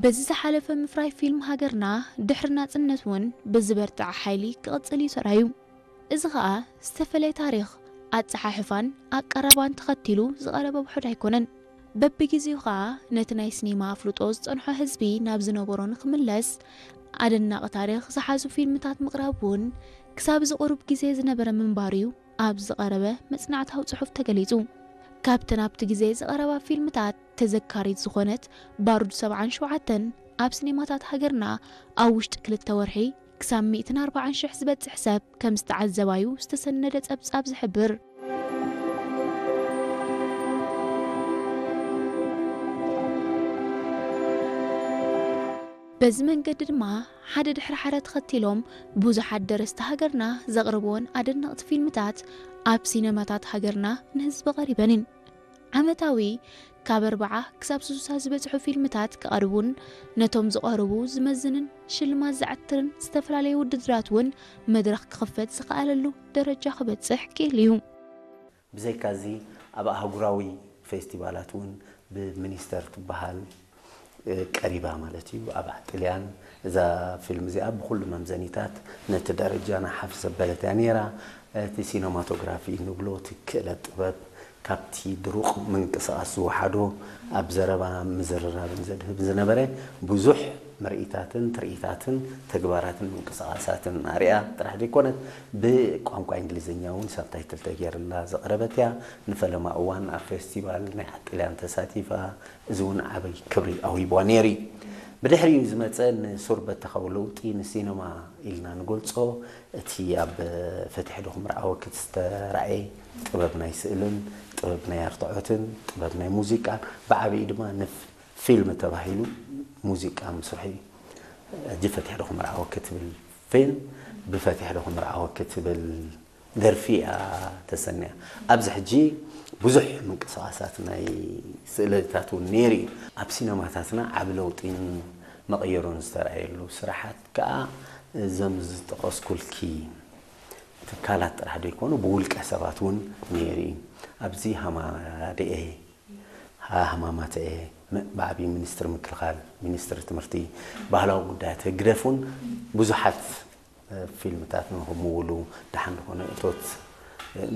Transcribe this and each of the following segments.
በዚ ዝሓለፈ ምፍራይ ፊልም ሃገርና ድሕሪ ናጽነት እውን ብዝበርትዐ ሓይሊ ክቕጽል እዩ ተራእዩ። እዚ ኸኣ ዝተፈለየ ታሪኽ፣ ኣጸሓሕፋን ኣቀራርባን ተኸቲሉ ዝቐረበ ውሑድ ኣይኮነን። በብግዜኡ ኸኣ ነቲ ናይ ሲኔማ ኣፍልጦ ዝጸንሖ ህዝቢ ናብ ዝነበሮ ንኽምለስ ኣደናቒ ታሪኽ ዝሓዙ ፊልምታት ምቕራብ እውን ክሳብ እዚ ቁሩብ ግዜ ዝነበረ ምንባሩ እዩ ኣብ ዝቐረበ መጽናዕታዊ ጽሑፍ ተገሊጹ። ካብተን ኣብቲ ግዜ ዝቐረባ ፊልምታት ተዘካሪት ዝኾነት ባሩድ ሰብዓን ሸውዓተን ኣብ ሲኔማታት ሃገርና ኣብ ውሽጢ ክልተ ወርሒ ክሳብ ሚእትን ኣርባዓን ሽሕ ዝበጽሕ ሰብ ከም ዝተዓዘባዩ ዝተሰነደ ጸብጻብ ዝሕብር። በዚ መንገዲ ድማ ሓደ ድሕሪ ሓደ ተኸቲሎም ብዙሓት ደረስቲ ሃገርና ዘቕርብወን ኣደነቕቲ ፊልምታት ኣብ ሲነማታት ሃገርና ንህዝቢ ቀሪበን እየን። ዓመታዊ ካብ ኣርብዓ ክሳብ ስሳ ዝበጽሑ ፊልምታት ክቐርቡን ነቶም ዝቐርቡ ዝመዝንን ሽልማት ዘዕትርን ዝተፈላለየ ውድድራት እውን መድረኽ ክኽፈት ዝኸኣለሉ ደረጃ ክበጽሕ ክኢሉ እዩ። ብዘይካዚ ኣብ ኣህጉራዊ ፌስቲቫላት እውን ብሚኒስተር ትበሃል ቀሪባ ማለት እዩ። ኣብ ጥልያን እዛ ፊልም እዚኣ ብኩሉ መምዘኒታት ነቲ ደረጃና ሓፍ ዘበለት እያ ነይራ። እቲ ሲነማቶግራፊ ንብሎ እቲ ክእለት ጥበብ ካብቲ ድሩቕ ምንቅስቓስ ዝወሓዶ ኣብ ዘረባ ምዝርራብን ዘድህብ ዝነበረ ብዙሕ ምርኢታትን ትርኢታትን ተግባራትን ምንቅስቓሳትን ኣርእያ ጥራሕ ዘይኮነት ብቋንቋ እንግሊዝኛ እውን ሳብታይትል ተገይርላ ዘቕረበት እያ። ንፈለማ እዋን ኣብ ፌስቲቫል ናይ ዓጥልያን ተሳቲፋ፣ እዚ እውን ዓብይ ክብሪ ኣውሂብዋ ነይሩ እዩ። ብድሕሪኡ ዝመፀ ንሱር በተኻዊ ለውጢ ንሲነማ ኢልና ንገልፆ እቲ ኣብ ፈትሒ ዶ ክምርዓወኪ ዝተራእየ ጥበብ ናይ ስእልን ጥበብ ናይ ኣርትዖትን ጥበብ ናይ ሙዚቃን ብዓብዪ ድማ ንፊልም ተባሂሉ ሙዚቃ ምስርሑ እዩ። ሕጂ ፈትሒ ዶ ክምርዓወኪ ትብል ፊልም ብፈትሒ ዶ ክምርዓወኪ ትብል ደርፊ እያ ተሰንያ። ኣብዚ ሕጂ ብዙሕ ምንቅስቓሳት ናይ ስእለታት እውን ነይሩ እዩ። ኣብ ሲነማታትና ዓቢ ለውጢን መቐየሮን ዝተረኣየሉ ስራሓት ከኣ እዞም ዝጠቐስኩልኪ ትካላት ጥራሕ ዘይኮኑ ብውልቀ ሰባት እውን ነይሩ እዩ። ኣብዚ ሃማደኤ፣ ሃማማተኤ፣ ብዓብዪ ሚኒስትሪ ምክልኻል፣ ሚኒስትሪ ትምህርቲ፣ ባህላዊ ጉዳያት ህግደፍ እውን ብዙሓት ፊልምታት ንክምውሉ ደሓን ዝኾነ እቶት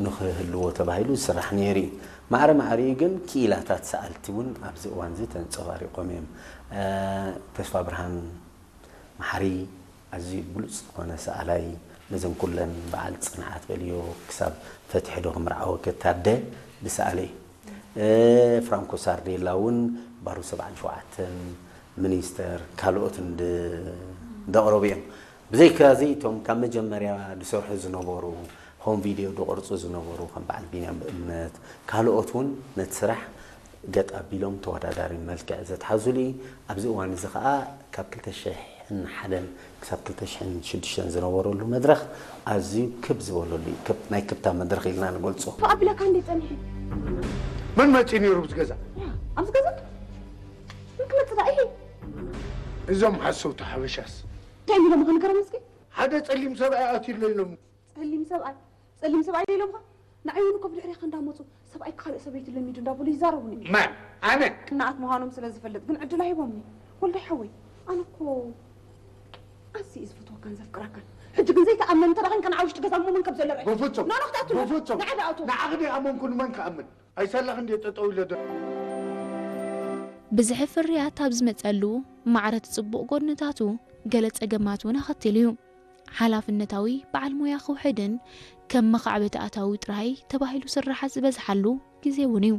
ንክህልዎ ተባሂሉ ዝስራሕ ነይሩ እዩ። ማዕረ ማዕሪኡ ግን ክኢላታት ሰኣልቲ እውን ኣብዚ እዋን እዚ ተንፀባሪቖም እዮም። ተስፋ ብርሃን መሓሪ ኣዝዩ ብሉፅ ዝኾነ ሰኣላይ ነዘን ኩለን በዓል ፅንዓት በልዮ ክሳብ ፈትሒ ዶ ክምርዓወኪ ታደ ዝሰኣለ እዩ። ፍራንኮ ሳርዴላ እውን ባሩ ሰብዓን ሸውዓተን ሚኒስተር ካልኦትን ዘቕረቡ እዮም። ብዘይካዚ እቶም ካብ መጀመርያ ዝሰርሑ ዝነበሩ ሆም ቪድዮ ዝቐርፁ ዝነበሩ ከም በዓል ቢንያም ብእምነት ካልኦት እውን ነቲ ስራሕ ገጥ ኣቢሎም ተወዳዳሪ መልክዕ ዘትሓዙሉ እዩ። ኣብዚ እዋን እዚ ከዓ ካብ ክልተ ሽሕን ሓደን ክሳብ ክልተ ሽሕን ሽዱሽተን ዝነበረሉ መድረኽ ኣዝዩ ክብ ዝበለሉ እዩ። ክብ ናይ ክብታ መድረኽ ኢልና ንገልፆ። ኣቢለካ እንዴ ጸኒሑ መን መፂኡ ነይሩ ኣብዚ ገዛ? ኣብዚ ገዛ ምን ክመጽእ ዳ ይሄ እዞም ሓሰውቲ ሓበሻስ እንታይ ኢሎም ክንገሮም እስኪ ሓደ ፀሊም ሰብኣይ ኣትዩለ ኢሎም ጸሊም ሰብኣይ ጸሊም ሰብኣይ ኢሎምካ ንዓይ እውን እኮ ብድሕሪኻ እንዳመፁ ሰብኣይ ካልእ ሰበይቲ ለሚዱ እንዳበሉ ይዛረቡኒ ማን ኣነ እናኣት ምዃኖም ስለ ዝፈልጥ ግን ዕድል ኣይቦምኒ ወልዳይ ሓወይ ኣነ እኮ ኣዚ እዩ ዝፈትወካን ዘፍቅረካን ሕጂ ግን ዘይተኣመን እንተ ደኸን ከነዓ ውሽጢ ገዛ እሞ መን ከም ዘሎ ርእ በፍጹም ኖኖ ክትኣቱ በፍጹም ንዓዲ ኣቱ ንዓኽዲ ኣመንኩ ንመን ክኣምን ኣይሰላኽ እንድየ ጠጠው ኢለ ዶ ብዝሒ ፍርያት ኣብ ዝመጸሉ ማዕረ እቲ ጽቡቕ ጎድንታቱ ገለ ጸገማት እውን ኣኸቲሉ እዩ። ሓላፍነታዊ በዓል ሞያ ክውሕድን ከም መኻዕበቲ ኣታዊ ጥራይ ተባሂሉ ስራሓት ዝበዝሓሉ ግዜ እውን እዩ።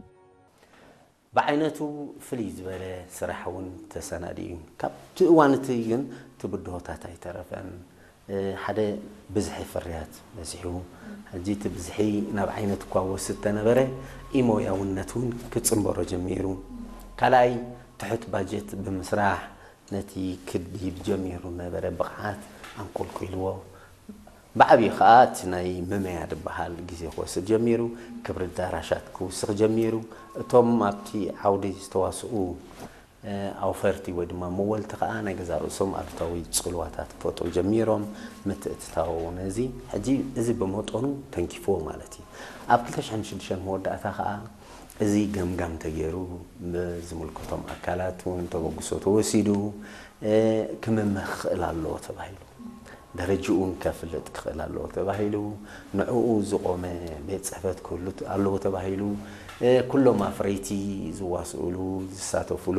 ብዓይነቱ ፍልይ ዝበለ ስራሕ እውን ተሰናዲኡ እዩ። ካብቲ እዋን እቲ ግን እቲ ብድሆታት ኣይተረፈን። ሓደ ብዝሒ ፍርያት በዚሑ። ሕጂ እቲ ብዝሒ ናብ ዓይነት እኳ ወስድ ተነበረ ኢሞያውነት እውን ክፅንበሮ ጀሚሩ። ካልኣይ ትሑት ባጀት ብምስራሕ ነቲ ክድይብ ጀሚሩ ነበረ ብቕዓት ኣንቆልቂልዎ። ብዓብዩ ከዓ እቲ ናይ መመያ ዝበሃል ግዜ ክወስድ ጀሚሩ፣ ክብሪ ዳራሻት ክውስኽ ጀሚሩ። እቶም ኣብቲ ዓውዲ ዝተዋስኡ ኣውፈርቲ ወይ ድማ መወልቲ ከዓ ናይ ገዛ ርእሶም ኣሉታዊ ፅልዋታት ክፈጥሩ ጀሚሮም። ምትእትታው ነዚ ሕጂ እዚ ብመጠኑ ተንኪፍዎ ማለት እዩ። ኣብ ክልተ ሽሕን ሽዱሽተን መወዳእታ ከዓ እዚ ገምጋም ተገይሩ ብዝምልከቶም ኣካላት እውን ተበግሶ ተወሲዱ ክምመ ክኽእል ኣለዎ ተባሂሉ፣ ደረጅኡን ከፍልጥ ክኽእል ኣለዎ ተባሂሉ፣ ንዕኡ ዝቆመ ቤት ፅሕፈት ክህሉ ኣለዎ ተባሂሉ፣ ኩሎም ኣፍረይቲ ዝዋስእሉ ዝሳተፍሉ